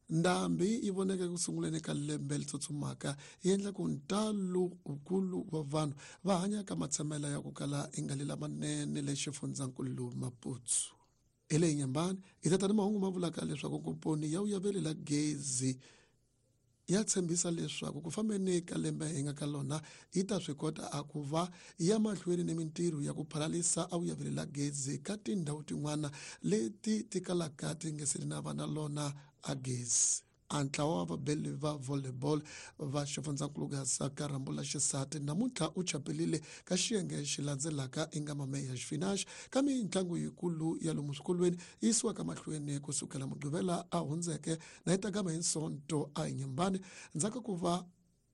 Ndhambi yi voneke ku sunguleni ka lembe leri tsutsumaka yi endla ku ntalo wukulu wa vanhu va hanya ka matshamela ya ku kala yi nga li lamanene le xifundzankulu Maputo. Hi leyi nyambani hi tata ni mahungu ma vulaka leswaku komponi ya vuyaveli la gezi ya tshembisa leswaku ku fambeni ka lembe hi nga ka lona yi ta swi kota a ku va ya mahlweni ni mintirho ya ku phalalisa a vuyaveli la gezi ka tindhawu tin'wana leti ti kalaka ti nge se na va na lona a gezi. A ntlawa wa vabeli va volleyball va xifundzankulu Gaza ka rhambu la xisati namuntlha u chapelile ka xiyenge xi landzelaka i nga mameya xifinax ka mitlangu yikulu ya lomu swikolweni yi yisiwaka mahlweni kusukela mugqivela a hundzeke na yi ta gama hi nsonto a hi nyambani ndzhaku ka ku va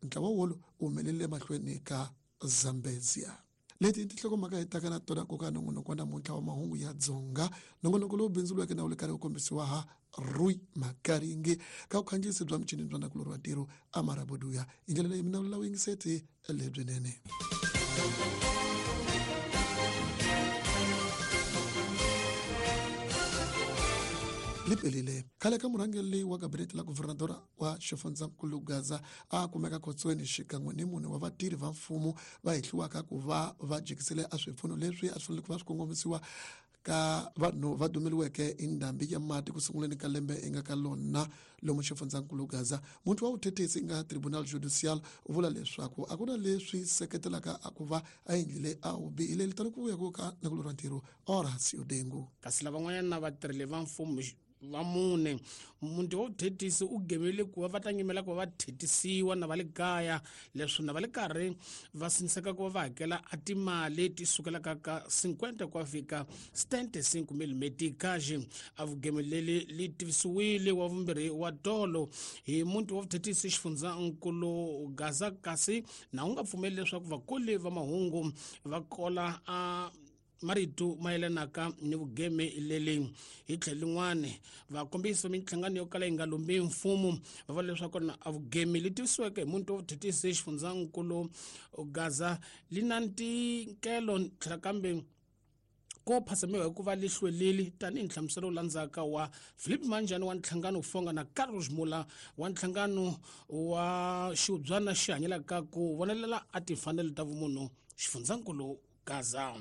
ntlawa wolo wu humelele mahlweni ka Zambezia. Leti i tinhlokomhaka hi taka na tona nkoka nongonoko wa namuntlha wa mahungu ya Dzonga, nongonoko lowu bindzuriweke na wu le karhi wu kombisiwa ha Rui Makaringi ka vukhandziyisi bya michini bya nakulorhi wa ntirho Amaraboduya. Hi ndlela leyi mina vula vuyingiseti lebyinene. Lipelile khale ka murhangeri wa gabinete la guvernadora wa xifundzankulu Gaza a kumeka khotsweni xikan'we ni mune wa vatirhi va mfumo va hehliwaka ku va va jikisile a swipfuno leswi a swi fanele ku va swi kongomisiwa ka vanhu va dumeliweke hi ndhambi ya mati ku sunguleni ka lembe i nga ka lona lomu xifundzankulu Gaza. Muti wa vuthethisi i nga Tribunal Judicial u vula leswaku a ku na leswi seketelaka a ku va a endlile a wu bihile litani ku vuya ku ka nakulorhi wa ntirho Horacio Dengu. Kasi lavan'wanyana vatirheli va mfumo va mune muti wa vuthetisi u gemele ku va va ta nyimela ku va va thetisiwa na va le kaya leswi na va le karhi va siniseka ku va va hakela a timali ti sukelaka ka 50 ku ya fika 75 mil metikaxi a vugemeleli li tivisiwile wa vumbirhi wa tolo hi muti wa vuthetisi xifundzankulu Gaza kasi na wu nga pfumeli leswaku vakoli va mahungu va kola a marito mayelanaka ni vugeme leli hi tlhelo lin'wana vakombisi va minhlangano yo kala yi nga lombi mfumo va vula leswaku na a vugeme li tivisiweke hi muntu wa vuthetisi xifundzankulu Gaza li na ntikelo tlhela kambe ko phasamiwa hikuva li hlwelile tanihi nhlamuselo wu landzaka wa Philip Manjani wa nhlangano wu fonga na Carlos Mula wa nhlangano wa xiubyana xi hanyelaka ku vonelela a timfanelo ta vumunhu xifundzankulu Gaza.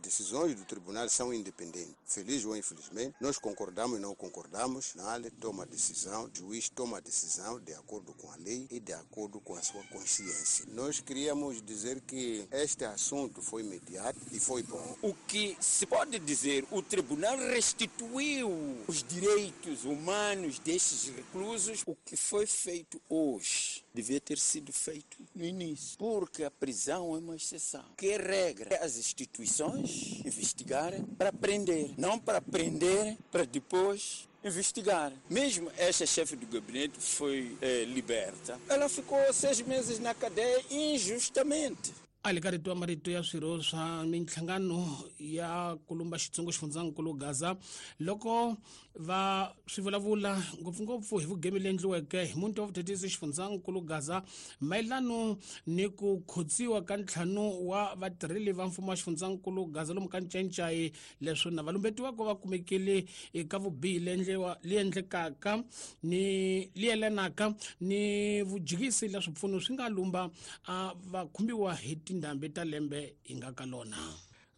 Decisões do tribunal são independentes. Feliz ou infelizmente, nós concordamos e não concordamos. O toma a decisão, o juiz toma a decisão de acordo com a lei e de acordo com a sua consciência. Nós queríamos dizer que este assunto foi imediato e foi bom. O que se pode dizer, o tribunal restituiu os direitos humanos destes reclusos. O que foi feito hoje devia ter sido feito no início, porque a prisão é uma exceção. Que é regra? As instituições investigarem para prender, não para prender para depois investigar. Mesmo esta chefe do gabinete foi liberta. Ela ficou 6 meses na cadeia injustamente. A le ka rito wa marito ya swirho swa minhlangano ya kulumba xitsongo xifundzankulu Gaza loko va swi vulavula ngopfungopfu hi vugemi leyi endliweke hi muti wa vuthetisi xifundzankulu Gaza mayelano ni ku khotsiwa ka ntlhanu wa vatirheli va mfumo wa xifundzankulu Gaza lomu ka Ncaincayi leswi na valumbetiwaka va kumekile eka vubihi leyi endlekaka ni leyi yelanaka ni vujikisi la swipfuno swi nga lumba a va khumbiwa hi tindhambi ta lembe hi nga ka lona.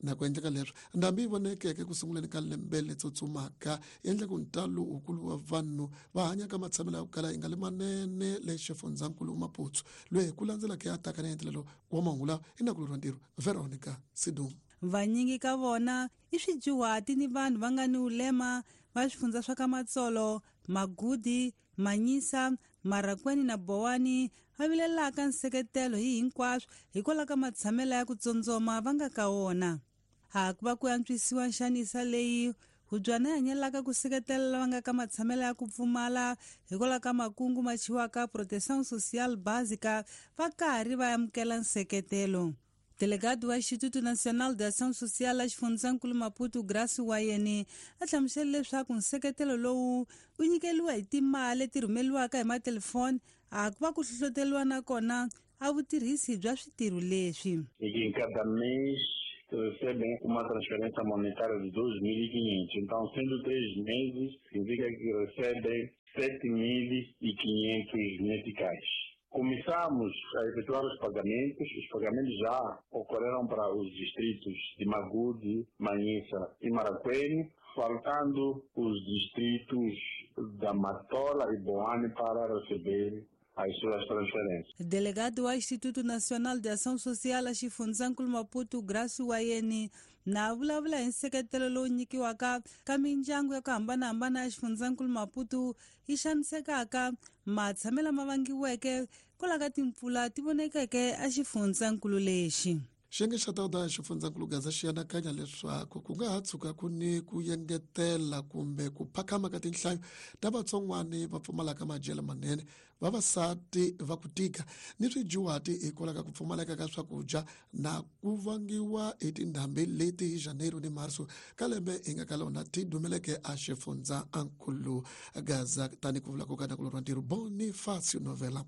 Na ku endleka leswi ndhambi yi vonekeke ku sunguleni ka lembe leri tsutsumaka yi endla ku ntalo wukulu wa vanhu va hanya ka matshamelo ya ku kala yi nga li manene le xifundzankulu Maputo loyi hi ku landzelaka ya taka na endlelo wa mahungu lawa i nakulorhi wa ntirho Veronica Sidum. Vanyingi ka vona i swidyuhati ni vanhu va nga ni ulema va swifundza swa ka Matsolo, Magudi, Manyisa, Marakweni na Bowani va vilelaka nseketelo hi hinkwaswo hikwalaho ka matshamelo ya ku tsondzoma va nga ka wona. Ha ku va ku antswisiwa nxanisa leyi hubyana yi hanyelaka ku seketela lava nga ka matshamelo ya ku pfumala hikwalaho ka makungu ma chiwaka Proteção Social Básica va karhi va amukela nseketelo. Delegado wa Instituto Nacional de Ação Social la xifundzankulu Maputo Grace Wayeni a hlamusele leswaku nseketelo lowu wu nyikeliwa hi timali leti rhumeliwaka hi matelefoni a ku va ku hlohloteriwa na kona a vutirhisi bya switirho leswi. E que em cada mês recebem uma transferência monetária de 2.500. Então, sendo 3 meses, significa que recebem 7.500 meticais. Começamos a efetuar os pagamentos. Os pagamentos já ocorreram para os distritos de Magude, Manhissa e Maracuene, faltando os distritos da Matola e Boane para receber as suas transferências. Delegado wa Instituto Nacional de Ação Social a xifundzankulu Maputo, Gracio Wayeni, na vulavula hi nseketelo lowu nyikiwaka ka mindyangu ya ku hambanahambana ya xifundzankulu Maputo yi xanisekaka matshamelo lama vangiweke kwalaho ka timpfula ti vonekeke a xifundzankulu lexi. Xiyenge xa tawuda xifundzankulu Gaza xi anakanya leswaku ku nga ha tshuka ku ni ku yengetela kumbe ku phakhama ka tinhlayo ta vatsongwani va pfumalaka madyelo manene, vavasati va ku tika ni swidyuhati hikwalaho ka ku pfumaleka ka swakudya na ku vangiwa hi tindhambi leti hi Janeiro ni Marso ka lembe hi nga ka lona ti dumeleke a xifundzankulu Gaza, tani ku vula ku ka nakulorhi wa ntirho Bonifacio Novela.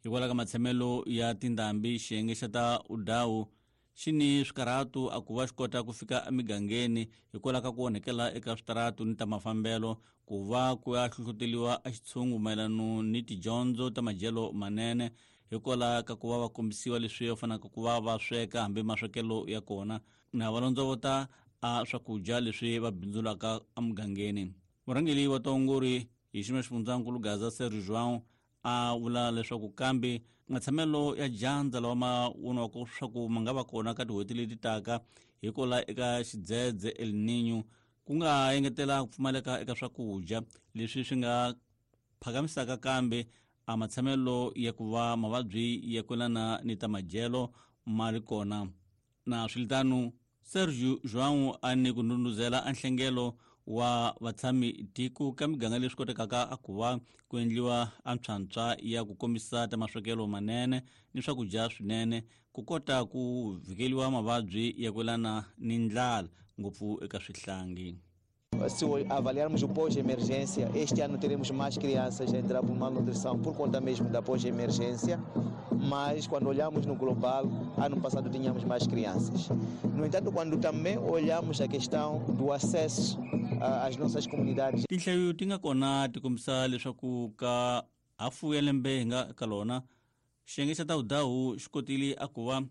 Hikwalaho ka matshamelo ya tindhambi, xiyenge xa ta udawu xi ni swikarhatu a ku va xi kota ku fika emigangeni hikwalaho ka ku onhekela eka switaratu ni ta mafambelo, ku va ku ya hlohloteliwa a xitshungu mayelano ni tidyondzo ta madyelo manene hikwalaho ka ku va va kombisiwa leswi va fanelaka ku va va sweka hambi maswekelo ya kona na va londzovota a swakudya leswi va bindzulaka emugangeni. Murhangeri wa taongori hi xiyimo xa xifundzankulu Gaza, Sergio João, a vula leswaku kambe matshamelo ya dyandza lawa ma voniwaka leswaku ma nga va kona ka tin'hweti leti taka hikwalaho eka xidzedze El Niño ku nga engetela ku pfumaleka eka swakudya leswi swi nga phakamisaka kambe a matshamelo ya ku va mavabyi ya kwelana ni ta madyelo ma ri kona. Na swiritano, Sergio João a ni ku ndhundhuzela a nhlengelo wa vatshami tiko ka miganga leswi kotekaka a ku va ku endliwa a ntshwantswa ya ku kombisa ta maswekelo manene ni swakudya swinene ku kota ku vhikeliwa mavabyi ya kwelana ni ndlala ngopfu eka swihlangi. Se avaliarmos o pós-emergência, este ano teremos mais crianças a entrar por malnutrição por conta mesmo da pós-emergência, mas quando olhamos no global, ano passado tínhamos mais crianças. No entanto, quando também olhamos a questão do acesso às nossas comunidades... Tinhlayo ti nga kona ti kombisa leswaku ka hafu ya lembe hi nga ka lona, xiyenge xa tawudawu xi kotile a ku va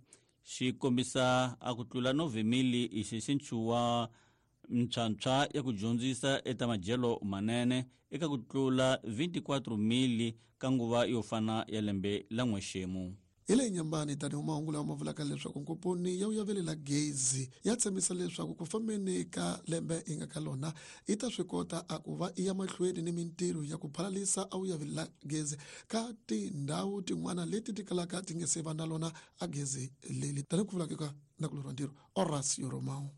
xi kombisa a ku tlula 9,000 hi xinxinchu wa ntshwantshwa ya ku dyondzisa eta madyelo manene eka ku tlula 24,000 ka nguva yo fana ya lembe la n'wexemu. Hi le Nyambani, tanihi mahungu lawa ma vulaka leswaku nkomponi ya vuyavelela gezi ya tshembisa leswaku ku fambeni ka lembe hi nga ka lona yi ta swi kota a ku va i ya mahlweni ni mintirho ya ku phalalisa a vuyavelela gezi ka tindhawu tin'wana leti ti kalaka ti nge se va na lona a gezi leli, tanihi ku vulaka ka nakulorhi wa ntirho Horacio Romao.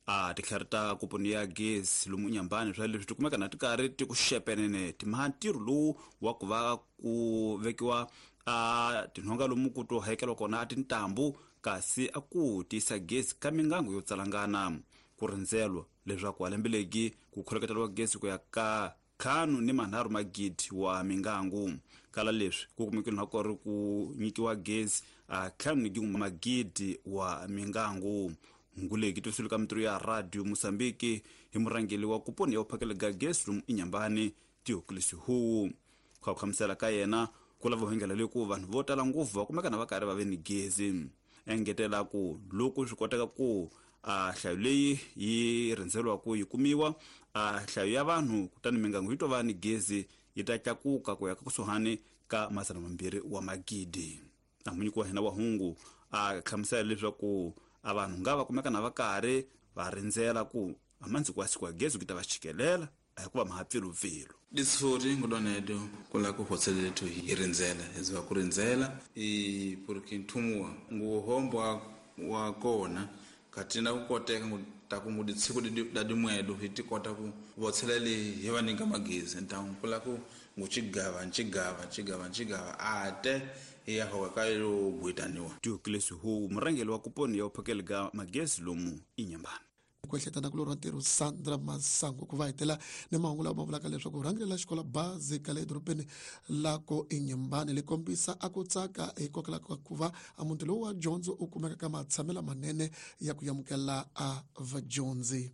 A titlhari ta komponi ya gezi lomu Nyambani swa leswi ti kumeka na ti karhi ti ku xepenene timha ntirho lowu wa ku va ku vekiwa a tinhonga lomu ku to hakeriwa kona a tintambu kasi a ku tiyisa gezi ka mingangu yo tsalangana. Ku rindzelwa leswaku a lembe legi ku kholeketeriwa gezi ku ya ka 5.3 magidi wa mingangu. Kala leswi ku kumekile na ku ri ku nyikiwa gezi a 5.1 magidi wa mingangu. Nguleki tusulu ka mintirho ya Radio Mozambique hi murhangeri wa kuponi ya ku phakela ga gezi lomu Inyambani Theophilus Huwu. Ku hlamusela ka yena ku lava hengela leyi ku vanhu vo tala ngopfu va kumeka na va karhi va ve ni gezi. Engetela ku loko swi koteka ku a nhlayo leyi yi rhendzeriwa ku yi kumiwa a nhlayo ya vanhu kutani mingangu yi to va ni gezi yi ta tlakuka ku ya ka kusuhani ka 200 wa magidi. A munyiki wa hina wa hungu a hlamusela leswaku a vanhu nga va kumeka na va karhi va rindzela ku a mandziko wa siku wa gezi ku ta va chikelela a hikuva ma ha pfilupfilu. Disifori ngudonedo kula ku hotselethu hi rindzela hikuva ku rindzela i porque nthumuwa nguhombo wa kona katina ku koteka ngu ta ku ngudi tsiku da dimwedo hi ti kota ku votselela hi va nyika magezi ntangu kula ku nguchigava nchigava nchigava nchigava ate ya hoka ka yo gwitaniwa. Theophilus Huwu, murhangeri wa kuponi ya vuphakeli ga magezi lomu Inyambani. Ku ehleketa na kulorha ntirho Sandra Masango ku va hetela ni mahungu lawa ma vulaka leswaku rhangeri la xikolo bazi ka le edorobeni la ko Inyambani li kombisa a ku tsaka hikokwalaho ka ku va a muti lowu wa dyondzo u kumeka ka matshamelo manene ya ku amukela a vadyondzi.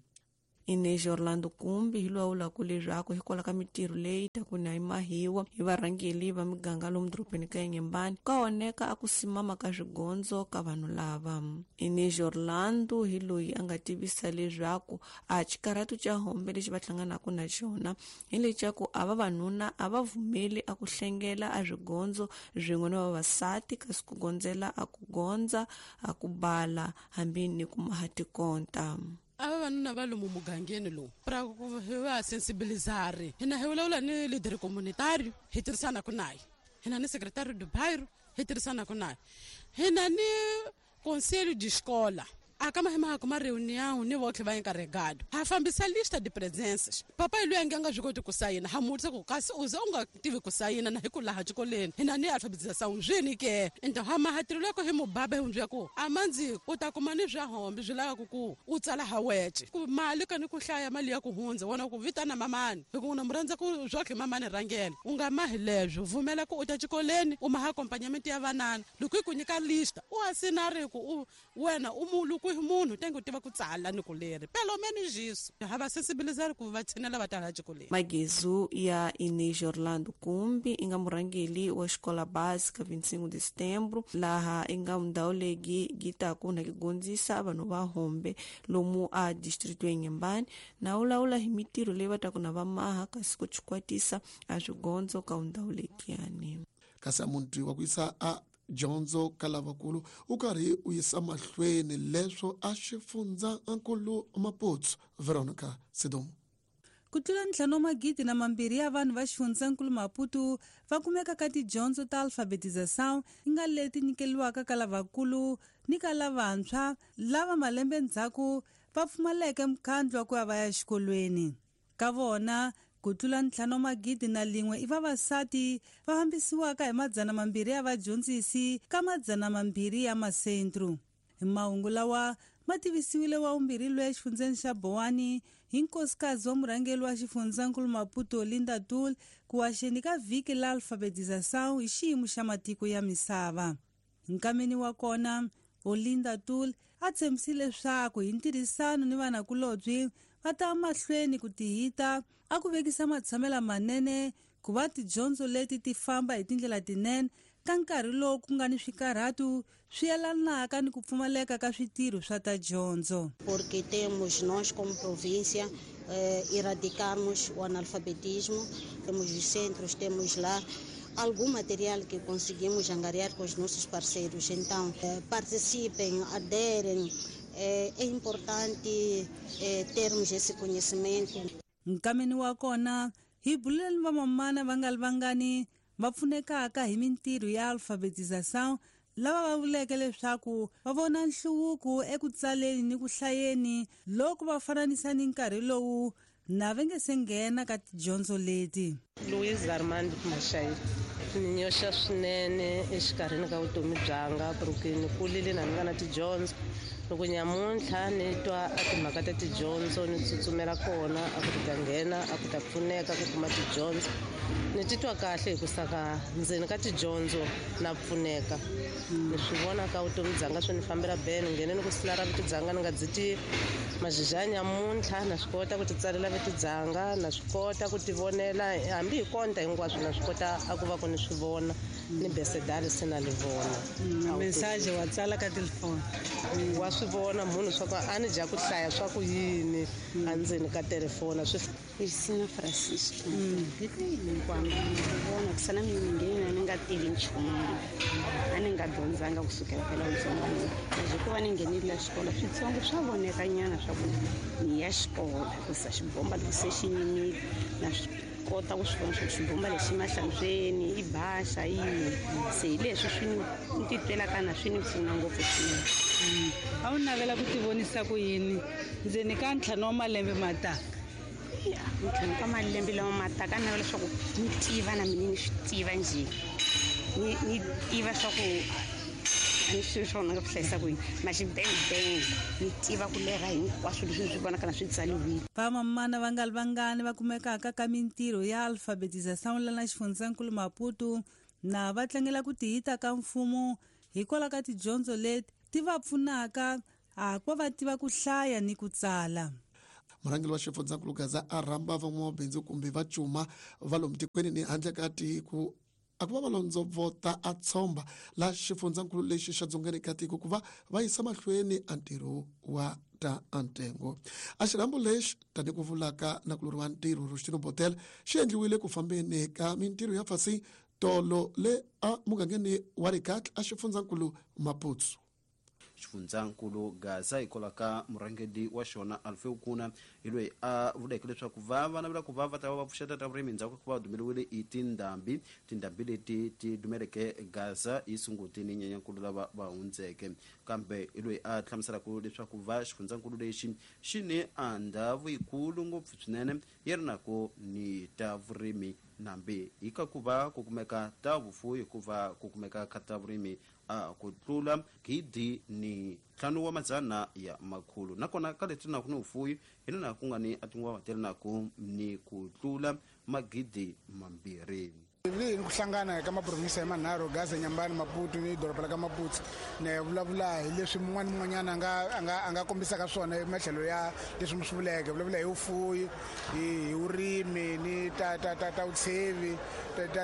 Inês Orlando Kumbi hi loyi a vulaka leswaku hikwalaho ka mitirho leyi ta ku na yi mahiwa hi varhangeli va miganga lomu dorobeni ka Inhambane ka oneka a ku simama ka swigondzo ka vanhu lava. Inês Orlando hi loyi a nga tivisa leswaku a xikarhatu xa hombe lexi va hlanganaka na xona hi leswaku a vavanuna a va vumeli a ku hlengela a swigondzo swin'we na vavasati, kasi ku gondzela a ku gondza a ku bala hambi ni ku maha tikonta. A vavanuna va lomu mugangeni lowu pra ku hi va sensibilizare hina hi vulavula ni leader communitario hi tirhisanaka naye, hina ni secretary do bairro hi tirhisanaka naye, hina ni conselho de escola a kama hi maha kuma reunião ni votlhe va encarregado ha fambisa lista de presenças. Papai loyi a nge a nga swi koti ku sayina ha mutisa ku kasi u ze u nga tivi ku sayina na hi ku laha xikolweni hina ni alfabetização swini ke. Então ha maha tirho loko hi mubaba hi n'wi ku a mandzi u ta kuma ni swa hombe swi lavaka ku u tsala ha wece ku mali ka ni ku hlaya mali ya ku hundza wona ku vitana mamani hi ku na mu rhandza ku swotlhe mamani rhangela u nga mahi leswo vumela ku u ta xikolweni u maha accompagnamento ya vanana loko hi ku nyika lista u asinari ku u wena u mulu ku hi munhu tenge u tiva ku tsala ni ku leri pelo menos isso ha va sensibilizari ku va tshinela va tala xikolweni. Magezu ya Inês Orlando Kumbi i nga murhangeli wa xikola básica 25 de setembro laha i nga ndhawu leyi gi taku na ki gondzisa vanhu va hombe lomu a distrito ya Inhambane na vulavula hi mitirho leyi va taku na va maha kasi ku chikwatisa a swigondzo ka ndhawu lekiyani. Kasi a munhu wa ku yisa a dyondzo ka lavakulu u karhi u yisa mahlweni leswo a xifundza nkulu Maputo. Veronica Sidumo. Ku tlula 5,200 ya vanhu va xifundzankulu Maputo va kumeka ka tidyondzo ta alfabetização yi nga leti nyikeliwaka ka lavakulu ni ka lavantshwa lava malembe ndzhaku va pfumaleke mukhandlu wa ku ya va ya xikolweni. Ka vona ku tlula 5,001 i vavasati va fambisiwaka hi 200 ya vadyondzisi ka 200 ya masentru. Hi mahungu lawa ma tivisiwile wa vumbirhi loyi exifundzeni xa Bowani hi nkosikazi wa murhangeri wa xifundzankulu Maputo Linda Tul ku waxeni ka vhiki la alfabetização hi xiyimo xa matiko ya misava. Nkameni wa kona Olinda Tul a tshembisile leswaku hi ntirhisano ni vanakulobye va ta mahlweni ku tihita a ku vekisa matshamela manene ku va tidyondzo leti ti famba hi tindlela tinene ka nkarhi lowu ku nga ni swikarhatu swi yelanaka ni ku pfumaleka ka switirho swa ta dyondzo. Porque temos nós como província erradicarmos o analfabetismo, temos os centros, temos lá algum material que conseguimos angariar com os nossos parceiros. Então, participem, aderem, é importante termos esse conhecimento. Nkameni wa kona hi bulele ni vamamana va nga li vangani va pfunekaka hi mintirho ya alfabetização lava va vuleke leswaku va vona nhluvuko eku tsaleni ni ku hlayeni loko va fananisa ni nkarhi lowu na va nge se nghena ka tidyondzo leti. Luiz Armando Mashai ni nyoxa swinene exikarhini ka vutomi byanga porque ni kulile na ni nga na tidyondzo. Loko nyamuntlha ni twa a timhaka ta tidyondzo ni tsutsumela kona a ku ta nghena a ku ta pfuneka ku kuma tidyondzo ni titwa kahle hi ku saka ndzeni ka tidyondzo na pfuneka. Ni swi vona ka vutomi byanga swi ni fambela bene nghene ni ku sila ra vito byanga ni nga byi tivi mazhizha nyamuntlha na swi kota ku ti tsalela vito byanga na swi kota ku ti vonela hambi hi konta hinkwaswo na swi kota a ku va ku ni swi vona ni besedali se na li vona. Message wa tsala ka telefoni wa swi vona munhu swa ku a ni dya ku hlaya swa ku yini endzeni ka telefoni swi. Cristina Francisco hinkwamba vona ku sana mina nghena ni nga tivi nchumu a ni nga dyondzanga kusukela phela vutsongwanini hikuva ni nghenile xikolo switsongo swa vonekanyana swa ku ni ya xikolo hikusa xibomba loko se xi yimile na swi kota ku swi vona swa ku xibomba lexi mahlantsweni i baxa yini se hi leswi swi ni titwelaka na swi ni pfuna ngopfu swinene. A wu navela ku tivonisa ku yini ndzeni ka 5 wa malembe mataka? Ntlhanu ka malembe lama mataka a navela leswaku ni tiva na mina ni swi tiva njhe ni tiva swa ku a ni swi swona nga ku hlayisa ku yini maxibengibenge ni tiva ku lerha hinkwaswo leswi ni swi vonaka na swi tsaliwile. Vamamana va nga li vangani va kumekaka ka mintirho ya alfabetização lana xifundzankulu Maputo na va tlangela ku tihita ka mfumo hikwalaho ka tidyondzo leti ti va pfunaka a ku va tiva ku hlaya ni ku tsala. Murhangeri wa xifundzankulu Gaza a rhamba van'wamabindzu kumbe va cuma va lomu tikweni ni handle ka tiko a ku va va londzovota a tshomba la xifundzankulu lexi xa dzongeni ka tiko ku va va yisa mahlweni a ntirho wa ta ntengo. A xirhambo lexi tani ku vulaka na kulori wa ntirho Rustino Botel xi endliwile ku fambeni ka mintirho ya fasi tolo le a mugangeni wa Rikatla a xifundzankulu Maputsu. Xifundzankulu Gaza hikwalaho ka murhangeri wa xona Alfeu Kuna hi loyi a vuleke leswaku va va navela ku va va ta va va pfuxeta ta vurimi endzhaku ka ku va dumeriwile hi tindhambi. Tindhambi leti ti dumeleke Gaza hi Sunguti ni Nyenyankulu lava va hundzeke. Kambe hi loyi a hlamuselaka leswaku va xifundzankulu lexi xi ni a ndhawu yikulu ngopfu swinene yi ri na ku ni ta vurimi nambi hi ka ku va ku kumeka ta vufuwi hikuva ku kumeka ka ta vurimi a ku tlula 5,500. Nakona ka leti na ku ni vufuwi hi lena ku nga ni a tinguva ti ri na ku ni ku tlula 2,000. Leyi ni ku hlangana ka maprovinsi ya manharhu, Gaza, Nyambani, Maputo ni doroba la ka Maputo, ni vulavula hi leswi mun'wana ni mun'wanyana a nga kombisaka swona hi matlhelo ya leswi mi swi vuleke. Vulavula hi vufuwi, hi vurimi ni ta vutshevi,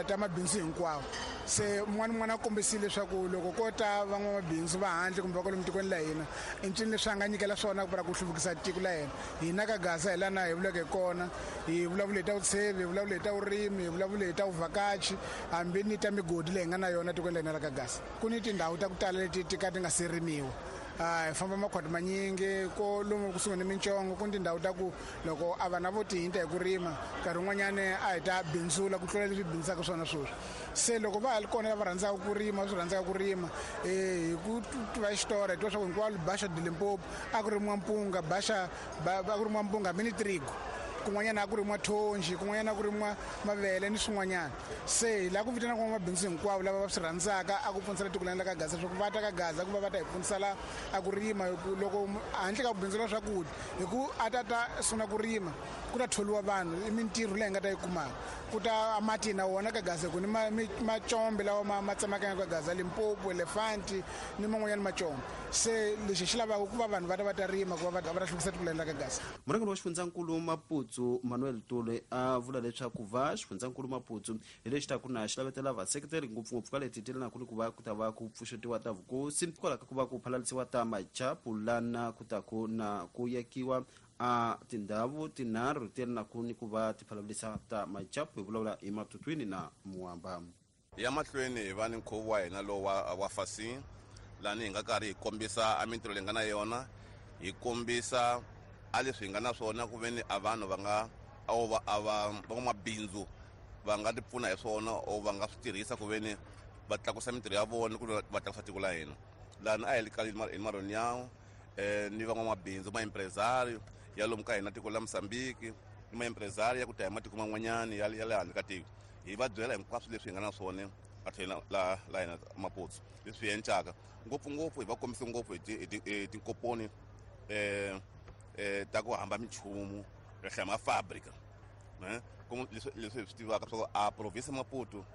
ta mabindzu hinkwawo. Se mun'wana ni mun'wana a kombisile leswaku loko ko ta van'wamabindzu va handle kumbe va kwalomu tikweni la hina, i ncini leswi a nga nyikela swona ku hluvukisa tiko la hina. Hina ka Gaza hi lana hi vuleke hi kona, hi vulavule hi ta vutshevi, hi vulavule hi ta vurimi, hi vulavule hi ta vuvhakachi, hambi ni ta migodi leyi hi nga na yona tikweni la hina la ka Gaza. Ku ni tindhawu ta ku tala leti ti ka ti nga se rimiwa. Hi famba makhwati manyingi ko lomu kusuhi ni mintsongo, ku ni tindhawu ta ku loko a vana vo tihinta hi ku rima nkarhi wun'wanyani a hi ta bindzula ku tlula leswi bindzaka swona sweswi. Se loko va ha ri kona lava rhandzaka ku rima, swi rhandzaka ku rima, hi ku tiva xitori hi tiva swa ku hinkwalo Baxa de Limpopo a ku rimiwa mpunga, Baxa a ku rimiwa mpunga hambi ni trigo, kun'wanyana a ku rimiwa thonji, kun'wanyana a ku rimiwa mavele ni swin'wanyana. Se hi lava ku vitana van'wamabindzu hinkwavo lava va swi rhandzaka a ku pfunisela tiko la ka Gaza leswaku va ta ka Gaza ku va va ta hi pfunisela a ku rima. Loko handle ka ku bindzula swakudya, hi ku a ta ta sungula ku rima ku ta tholiwa vanhu, i mintirho leyi hi nga ta yi kumaka. Ku ta mati na wona ka Gaza, ku ni macombe lawa ma tsemakanyaka ka Gaza, Limpopo, Elefanti ni man'wanyana macombe. Se lexi xi lavaka ku va vanhu va ta va ta rima ku va va ta hluvukisa tiko la ka Gaza. Murhangeri wa xifundzankulu Maputsu Manuel Tule a vula leswaku va xifundzankulu Maputsu hi lexi ta ku na xi lavetela vaseketeri ngopfungopfu ka leti ti lanaku ni ku va ku ta va ku pfuxetiwa ta vukosi hikwalaho ka ku va ku phalalisiwa ta machapu lana ku ta ku na ku yakiwa a tindhawu tinharhu ti lanaku ni ku va ti phalalisa ta machapu. Hi vulavula hi Matutwini na Muamba. Ya mahlweni hi va ni nkhuvo wa hina lowu wa Fasin, lani hi nga karhi hi kombisa a mintirho leyi nga na yona, hi kombisa a leswi hi nga na swona ku veni a vanhu va nga a va van'wamabindzu va nga ti pfuna hi swona or va nga swi tirhisa ku veni va tlakusa mintirho ya vona ku va tlakusa tiko la hina. Lani a hi le ka hi Maronyawo ni van'wamabindzu maempresario ya lomu ka hina tiko la Mozambique ni maempresario ya ku ta hi matiko man'wanyana ya le handle ka tiko. Hi va byela hinkwaswo leswi hi nga na swona a tlhela la hina Maputsu leswi hi encaka ngopfungopfu hi va kombise ngopfu hi tinkoponi ta ku hamba minchumu ri hlaya mafabrika leswi hi swi tivaka swa ku a province Maputo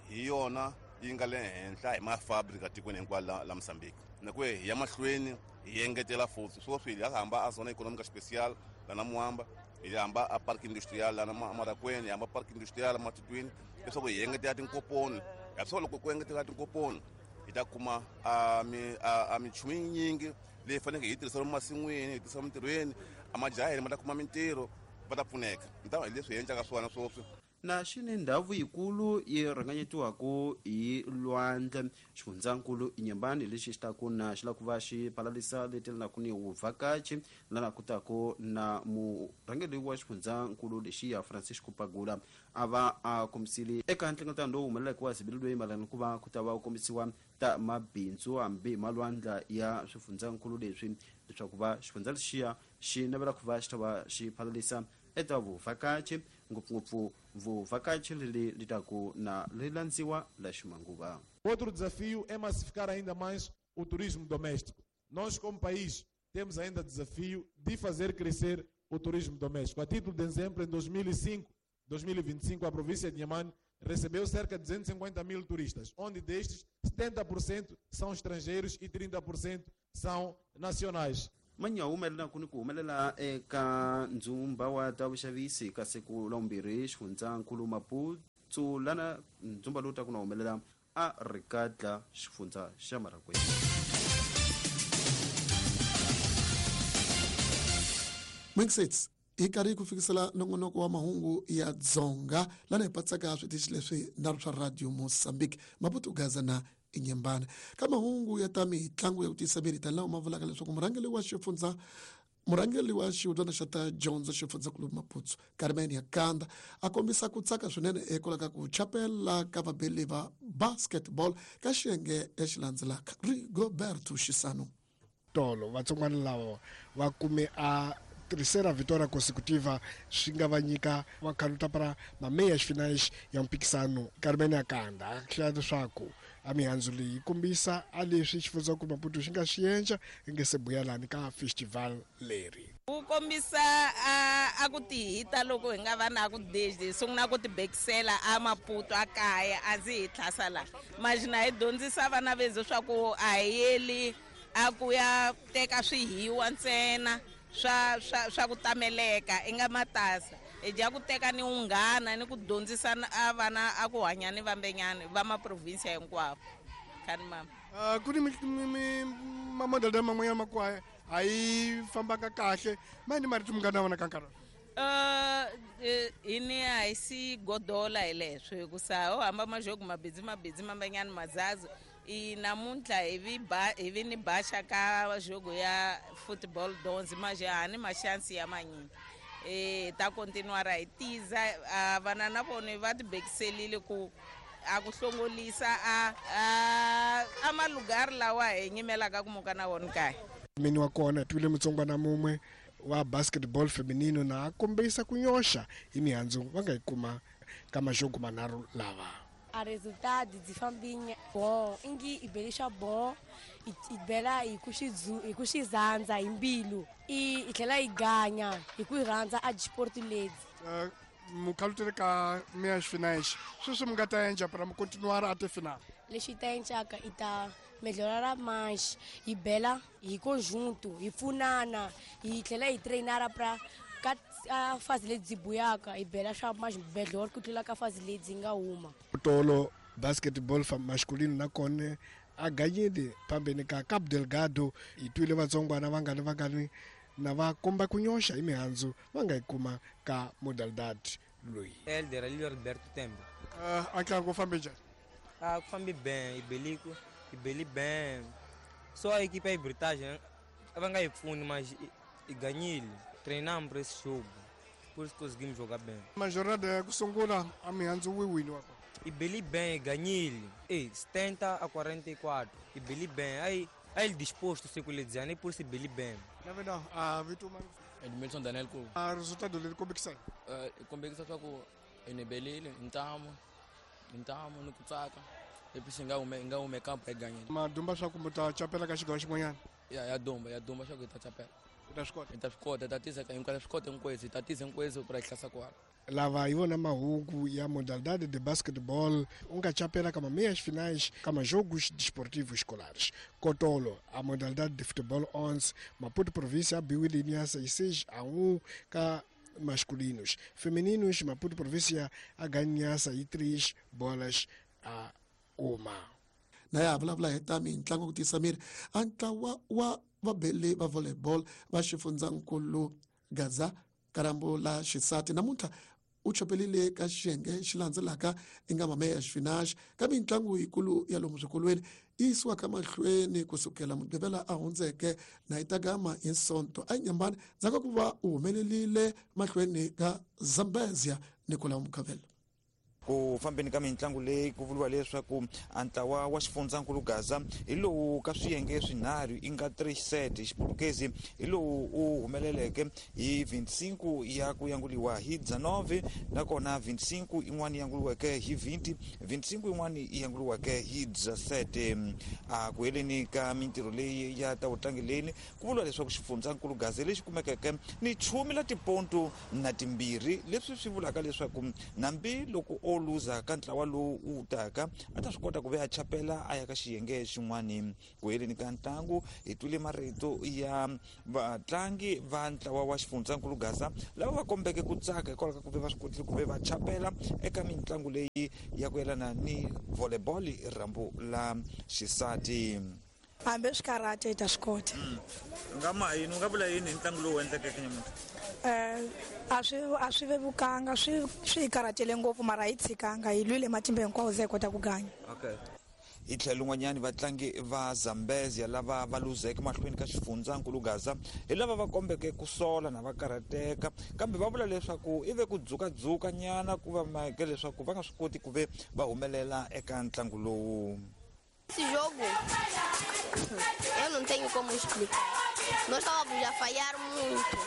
hi yona yi nga le henhla hi mafabrika tikweni hinkwalo la Mozambique. Na ku hi ya mahlweni hi engetela futhi sweswi hi hamba a zona economic special lana Muamba, hi hamba a park industrial lana Marakweni, hi hamba park industrial Matutwini leswaku hi engetela tinkoponi. Hi swa loko ku engetela tinkoponi hi ta kuma a minchumu yinyingi leyi faneleke hi tirhisa masin'wini, hi tirhisa mintirhweni, a majaha ma ta kuma mintirho va ta pfuneka. Ni hi leswi hi endlaka swona sweswi. Na xi ni ndhawu yikulu yi rhanganyetiwaka hi lwandle xifundzankulu Inyambani lexi xi ta ku na xi lava ku va xi phalalisa leti lanaku ni vuvhakachi lana ku ta ku na murhangeri wa xifundzankulu lexiya Francisco Pagula a va a kombisile eka nhlengeletano lowu humeleleke wa zibilelweni mayelana ku va ku ta va ku kombisiwa ta mabindzu hambi malwandla ya swifundzankulu leswi leswaku va xifundza lexiya xi navela ku va xi ta va xi phalalisa eka vuvhakachi ngopfungopfu vuvhakachi leli li taku na li landziwa la ximanguva. Outro desafio é massificar ainda mais o turismo doméstico. Nós, como país, temos ainda desafio de fazer crescer o turismo doméstico. A título de exemplo, em 2025, a província de Inhambane recebeu cerca de 250 mil turistas, onde destes 70% são estrangeiros e 30% são nacionais. Manyawu mayelana ku ni ku humelela eka ndzumba wa ta vuxavisi ka siku la vumbirhi xifundzankulu Maputo lana ndzumba lowu ta ku na humelela a Rikatla xifundza xa Marakwena. Minxits hi karhi ku fikisela nongonoko wa mahungu ya Dzonga lana hi patsaka switichi leswi nharhu swa Radio Mozambique, Maputo, Gaza na Inhambane. Ka mahungu ya ta mitlangu ya ku tiyisa miri tani lawa ma vulaka leswaku murhangeri wa xifundza murhangeri wa xihubyana xa ta dyondzo xifundzankulu Maputo Carmen Yakanda a kombisa ku tsaka swinene hikwalaho ka ku chapela ka vabeli va basketball ka xiyenge lexi landzelaka. Rigoberto Xisano. Tolo vatsongwana lava va kume a terceira vitória consecutiva swi nga va nyika va khaluta para mameias finais ya mphikisano. Carmen Akanda a hlaya leswaku a mihandzu leyi yi kombisa a leswi xifundzankulu Maputo xi nga swi endla yi nge se buyelani ka festival leri. Wu kombisa a ku tihita loko hi nga va na ku deji hi sungula ku tibekisela a Maputo a kaya a ndzi hi tlhasa laha majina hi dyondzisa vana vezu swa ku a hi yeli a ku ya teka swihiwa ntsena swa swa swa ku tameleka i nga matasa hi dya ku teka ni unghana ni ku dyondzisa a vana a ku hanya ni vambenyani va maprovinsia hinkwavo khani mama. Ku ni mamodel man'wanyana ma ku a yi fambanga kahle ma ni marito mi nga na wona ka nkarhi. Hi ni a hi si godola hi leswo hikusa ho hamba majogo mabidzi mabidzi mambanyani mazazi i namuntlha hi vi ba hi vi ni baxa ka jogo ya football dons maje ha ni mashansi ya manyingi hi ta continuara hi tiza vana na vona va tibekiselile ku a ku hlongolisa a a malugari lawa hi nyimelaka ku muka na wona kaya. Mini wa kona twile mutsongwana mumwe wa basketball feminino na a kombisa ku nyoxa hi mihandzu va nga yi kuma ka majogo manharhu lava. A resultado dzi fambi bom ingi i belisha bom i bela hi ku hi ku xizandza hi mbilu i tlhela yi ganya hi ku rhandza a sport ledzi. Mukhalutele ka meias finais sweswi mi nga ta endla para mi continuar até final. Lexi ta endlaka i ta melhorara mais hi bela hi conjunto hi pfunana hi tlhela hi trainara pra ka fazi lebyi buyaka hi bela swa mais melhor ku tlula ka fazi lebyi nga huma. Tolo basketball masculino na kona a ganyile phambeni ka Cabo Delgado hi twile vatsongwana vangani na va komba ku nyoxa hi mihandzu va nga yi kuma ka modalidad loyi. Elder Alberto Tembe. A ntlangu ku fambe njhani? A ku fambi ben, i beliku, i beli ben. So a equipe ya Britagem a va nga yi pfuni mas i ganyile. Treinamos para esse jogo, por isso conseguimos jogar bem. Ma jornada ya ku sungula a mihandzu wi wini wa kona? I beli bem, i ganyile. Ei, 70-44. I beli bem. Aí ele disposto sekuledzana e por isso beli bem. Na verdade, a vito mano. Edmilson Daniel ku. A resultado leri kombekisa. Kombekisa swa ku inebelile ntamu ni ku tsaka. Lepisi nga hume kampa hi ganyile. Madumba swa ku ta chapela ka xigawo xin'wanyana. Ya dumba swa ku hi ta chapela. Ta swi kota. Hi ta swi kota, hi ta tisa hinkwaswo swi kota hinkwaswo, hi ta tisa hinkwaswo ku ra hi hlasa kwala. Lava hi vona mahungu ya modalidade de basketball u nga chapela ka meias finais ka majogos desportivos escolares. Kotolo a modalidade de futebol 11 Maputo província abiwile niasa 6-1 ka masculinos. Femininos Maputo província a ganhasa e 3 bolas a 1. Na ya vulavula hi ta mitlangu ku tiyisa miri a ntlawa wa vabeli va volleyball va xifundzankulu Gaza Karambo la xisati namuntlha u chopelile ka xiyenge xi landzelaka i nga meias finais ka mitlangu yikulu ya lomu swikolweni yi yisiwaka mahlweni kusukela mugqivela a hundzeke na yi ta gama hi Sonto a Inhambane ndzhaku ka ku va u humelelile mahlweni ka Zambezia Nicolau Mukhavela. Ku fambeni ka mitlangu leyi ku vuriwa leswaku a ntlawa wa xifundzankulu Gaza hi lowu ka swiyenge swinharhu i nga 3 set xiputukezi hi lowu u humeleleke hi 25 ya ku yanguliwa hi 19 nakona 25 yin'wana yanguliweke hi 20 25 yin'wana yanguliweke hi 17. A ku heleni ka mintirho leyi ya ta vutlangileni ku vuriwa leswaku xifundzankulu Gaza lexi kumekeke ni 12 na 2 leswi swi vulaka leswaku nambi loko o o luza ka ntlawa lowu wu taka a ta swi kota ku ve a chapela a ya ka xiyenge xin'wani. Ku heleni ka ntlangu hi twile marito ya vatlangi va ntlawa wa xifundzankulu Gaza lava va kombeke ku tsaka hikwalaho ka ku ve va swi kotile ku ve va chapela eka mitlangu leyi ya ku yelana ni volleyball, rhambu la xisati. Hambi swi karhata hi ta swi kota. Nga ma yini u nga vula yini hi ntlangu lowu endlekeke nyamuntlha? A swi vevukanga, swi hi karhatele ngopfu, mara hi tshikanga, hi lwile matimba hinkwawo ze hi kota ku ganya. Okay. Hi tlhelo rin'wanyani vatlangi va Zambezia lava va luzeke mahlweni ka xifundzankulu Gaza hi lava va kombeke ku sola na va karhateka, kambe va vula leswaku i ve ku dzukadzuka nyana ku va mhaka leswaku va nga swi koti ku ve va humelela eka ntlangu lowu. Esse jogo, eu não tenho como explicar. Nós estávamos a falhar muito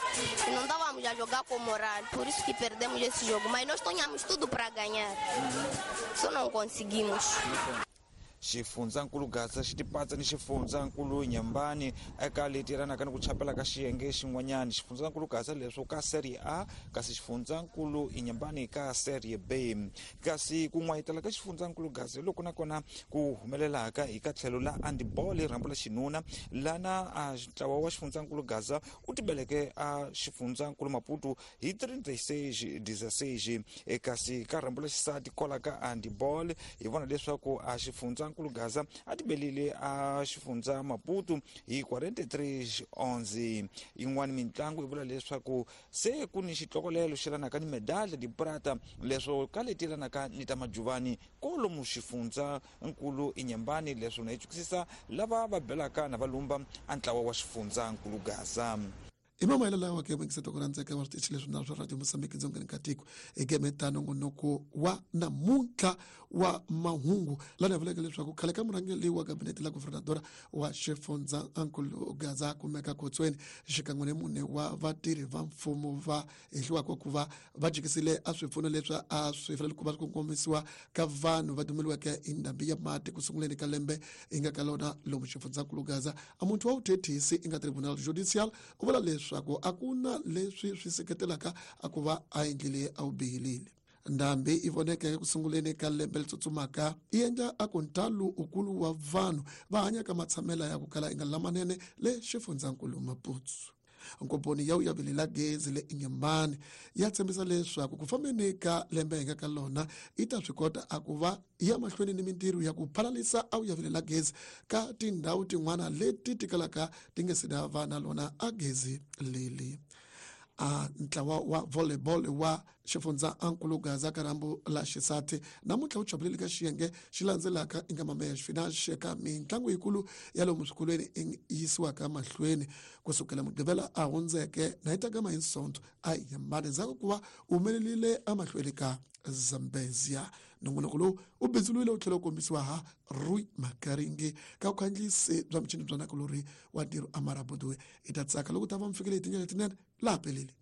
e não estávamos a jogar com moral, por isso que perdemos esse jogo. Mas nós tínhamos tudo para ganhar, só não conseguimos. Xifundzankulu Gaza xi tipatsa ni xifundzankulu Nyambani eka leti yelanaka ni ku chapela ka xiyenge xin'wanyana. Xifundzankulu Gaza leswo ka Serie A, kasi xifundzankulu Inyambani ka Serie B. Kasi ku n'wayitela ka xifundzankulu Gaza hi loko nakona ku humelelaka hi ka tlhelo la handball, rhambu la xinuna, lana a ntlawa wa xifundzankulu Gaza u tibeleke a xifundzankulu Maputo hi 36-16. Kasi ka rhambu la xisati kola ka handball hi vona leswaku a xifundzankulu Gaza a tibelile a xifundza Maputo hi 43-11. Yin'wana mitlangu yi vula leswaku se ku ni xitlokolelo xi yelanaka ni medalha di prata leswo ka leti yelanaka ni ta majuvani kolomu xifundza nkulu Inyambani, leswo na yi tsukisisa lava va belaka na valumba a ntlawa wa xifundza nkulu Gaza. I mamayelo lawa ke muyingiseti ku rhandzeka wa switichi leswi na swa Radio Mozambique dzongeni ka tiko eka nongonoko wa namuntlha wa mahungu lana vuleke leswaku khale ka murhangeri wa gabinete la guvernadora wa xifundza nkulu Gaza kumeka khotsweni xikan'we ni mune wa vatirhi va mfumo va hehliwaka ku va va jikisile a swipfuno leswi a swi fanele ku va swi kongomisiwa ka vanhu va dumeliweke hi ndhambi ya mati ku sunguleni ka lembe yi nga ka lona lomu xifundzankulu Gaza. A muntu wa vuthethisi i nga tribunal judicial u vula leswaku a ku na leswi swi seketelaka a ku va a endlile a wu bihilile. Ndhambi yi voneke ku sunguleni ka lembe leri tsutsumaka yi endla a ku ntalo ukulu wa vanhu va hanyaka matshamela ya ku kala yi nga lamanene le xifundzankulu Maputo. Nkomponi ya vuyaveli la gezi le Inyambani ya tshembisa leswaku ku fambeni ka lembe hi nga ka lona yi ta swi kota a ku va ya mahlweni ni mintirho ya ku phalalisa a vuyaveli la gezi ka tindhawu tin'wana leti tikalaka ti nge se da va na lona a gezi leli. A ntlawa wa volleyball wa xifundza nkulu Gaza ka rhambu la xisati namuntlha wu chapelile ka xiyenge xi landzelaka i nga mameya xifinaxe ka mitlangu yikulu ya lomu swikolweni i yisiwaka mahlweni kusukela mugqivela a hundzeke na yi ta gama hi Sonto a Inyambani ndzhaku ku va u humelelile emahlweni ka Zambezia. Nongonoko lowu u bindzuriwile wu tlhela wu kombisiwa ha Rui Makaringi ka vukhandziyisi bya michini bya nakulori wa ntirho Amara Bodoe. Hi ta tsaka loko ta va mi fikele hi tindlela letinene laha pelele.